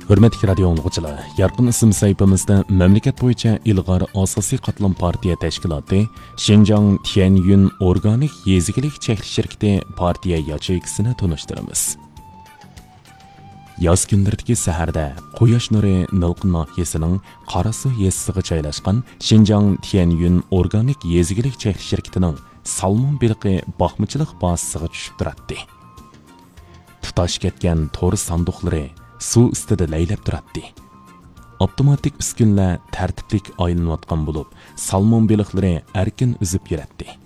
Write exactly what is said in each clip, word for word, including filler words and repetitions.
ھۆرمەتلىك رادىيو ئاڭلىغۇچىلار، يارقىن ئىسىم سەھىپىمىزدە مەملىكەت بويىچە ئىلغار ئاساسىي قاتلام پارتىيە تەشكىلاتى شىنجاڭ تيەنيۈن ئورگانىك يېزا ئىگىلىك چەكلىك شىركىتى پارتىيە ياچېيكىسىنى تونۇشتۇرىمىز. ياز كۈنلىرىدىكى سەھەردە قۇياش نۇرى نىلقا ناھىيەسىنىڭ قاراسۇ يېزىسىغا جايلاشقان شىنجاڭ تيەنيۈن ئورگانىك يېزا ئىگىلىك چەكلىك شىركىتىنىڭ سالمون بېلىقى باقمىچىلىق بازىسىغا چۈشۈپ تۇراتتى. تۇتاش كەتكەن تور ساندۇقلىرى سۇ ئۈستىدە لەيلەپ تۇراتتى. ئاپتوماتىك ئۈسكۈنىلەر تەرتىپلىك ئايلىنىۋاتقان بولۇپ، سالمون بېلىقلىرى ئەركىن ئۈزۈپ يۈرەتتى.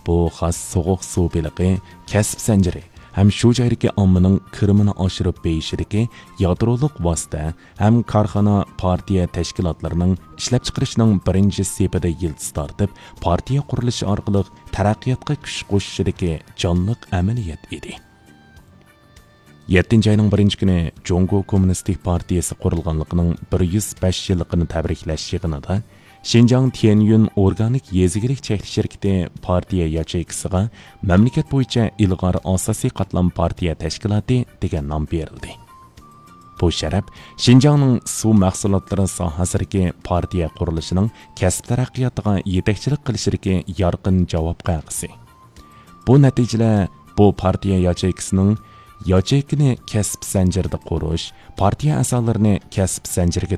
بۇ خاس سوغۇق سۇ بېلىقى كەسىپ زەنجىرى ھەم شۇ جايدىكى ئاممىنىڭ كىرىمىنى ئاشۇرۇپ بېيىشىدىكى يادرولۇق ۋاسىتە ھەم كارخانا، پارتىيە تەشكىلاتلىرىنىڭ ئىشلەپچىقىرىشىنىڭ بىرىنچى سېپىدە يىلتىز تارتىپ، پارتىيە قۇرۇلۇشى ئارقىلىق تەرەققىياتقا كۈچ قوشۇشىدىكى جانلىق ئەمەلىيەت ئىدى. يەتتىنچى ئاينىڭ بىرىنچى كۈنى جۇڭگو كوممۇنىستىك پارتىيىسى قۇرۇلغانلىقىنىڭ بىر يۈز بەش يىللىقىنى تەبرىكلەش يىغىنىدا شىنجاڭ تيەنيۈن ئورگانىك يېزا ئىگىلىك چەكلىك شىركىتى پارتىيە ياچېيكىسىغا مەملىكەت بويىچە ئىلغار ئاساسىي قاتلام پارتىيە تەشكىلاتى دېگەن نام بېرىلدى. بۇ شەرەپ شىنجاڭنىڭ سۇ مەھسۇلاتلىرى ساھەسىدىكى پارتىيە قۇرۇلۇشىنىڭ كەسىپ تەرەققىياتىغا يېتەكچىلىك قىلىشىدىكى يارقىن جاۋاب قەغىزى. بۇ نەتىجىلەر بۇ پارتىيە ياچېيكىسىنىڭ ياچېيكىنى كەسىپ زەنجىرىدە قۇرۇش، پارتىيە ئەزالىرىنى كەسىپ زەنجىرىگە